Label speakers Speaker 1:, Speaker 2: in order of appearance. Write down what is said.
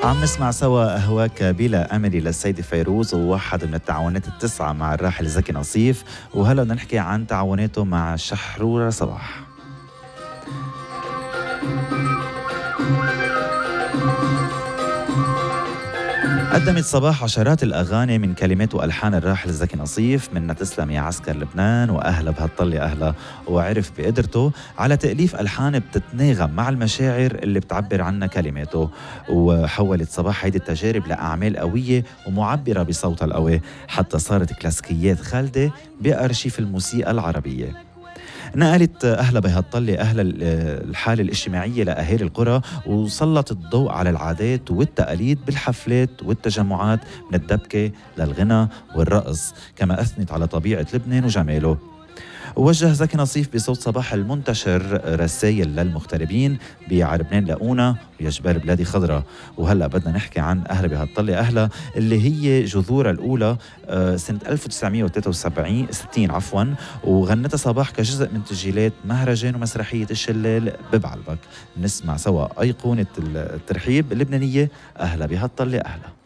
Speaker 1: عم نسمع سوا أهواك بلا أملي للسيدة فيروز، وواحد من التعاونات التسعة مع الراحل زكي نصيف. وهلا بدنا نحكي عن تعاوناته مع شحرورة صباح. قدمت صباح عشرات الأغاني من كلمات وألحان الراحل زكي نصيف، منها تسلم يا عسكر لبنان وأهلا بهالطلة أهلا. وعرف بقدرته على تأليف ألحان بتتناغم مع المشاعر اللي بتعبر عنها كلماته. وحولت صباح هيدي التجارب لأعمال قوية ومعبرة بصوتها القوي، حتى صارت كلاسيكيات خالدة بأرشيف الموسيقى العربية. نقلت أهلا بهالطلة أهلا الحالة الاجتماعية لأهالي القرى، وسلط الضوء على العادات والتقاليد بالحفلات والتجمعات، من الدبكة للغنى والرقص. كما أثنت على طبيعة لبنان وجماله. ووجه زكي نصيف بصوت صباح المنتشر رسائل للمغتربين بلبنان لاقونا ويا جبال بلادي خضرة. وهلا بدنا نحكي عن أهلا بهالطلة أهلا، اللي هي جذورها الأولى سنة 1963 عفوا، وغنتها صباح كجزء من تسجيلات مهرجان ومسرحية الشلال ببعلبك. نسمع سوا أيقونة الترحيب اللبنانية أهلا بهالطلة أهلا.